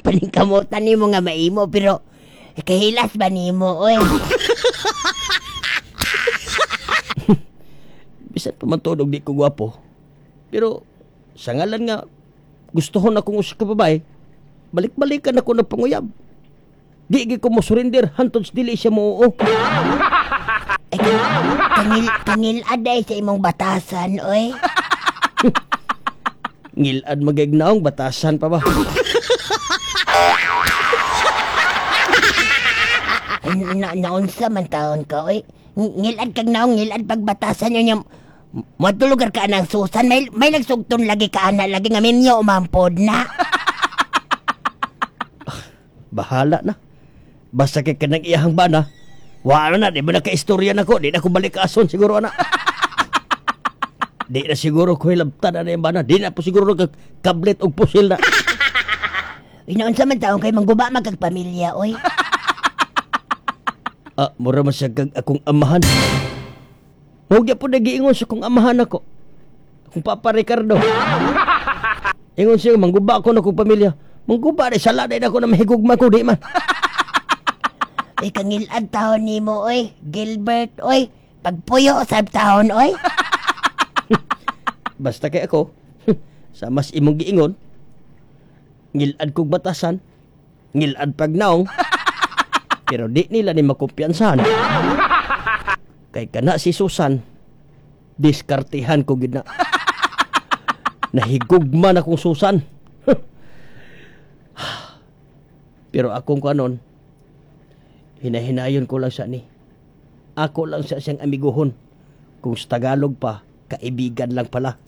Paningkamutan nimo nga maimo pero kahilas ba nimo oy? Bisan pa man tuod og di ko gwapo. Pero sa ngalan nga gustohon akong usa ka babae, balik-balikan ako ng panguyab. Di gyud ko mo surrender hantod sa dili siya mo. Ay, kangil aday sa imong batasan oy. Ngilad magignaong batasan pa ba? Na, naunsa man taon ka oy. Ngilad kag naong ngilad pagbatasan yun yung Moadto lugar ka anang Susan, may nagsugton lagi ka ana lagi nga minyo umampod na. Bahala na. Basta kay kanang iyahang bana. Wala na, di ba naka-istorya na ko? Di na ko balik ason siguro ana. Di na siguro ko hilabtan ana yung bana. Di na po siguro kablet og pusil na. Inaunsa man taon kay mangguba man kag pamilya oy. Ah, mura man siya kag akong amahan. Huwag po nagiingon sa akong amahan ako. Akong Papa Ricardo. Ingon siya, mangguba ako na akong pamilya. Mangguba na, sala na ako na mahigugma ko, di man. Ay kangilad taon nimo oy, Gilbert oy. Pagpuyo sab taon oy. Basta kay ako, sa mas imong giingon, ngilad kog batasan, ngilad pagnaong, pero di nila ni makumpiyansahan. Kay kana si Susan, diskartihan ko gid na. Nahigugma na kong Susan. Pero akong kanon, hinahinayon ko lang sa ni. Ako lang sa siyang amiguhon. Kung sa Tagalog pa, kaibigan lang pala.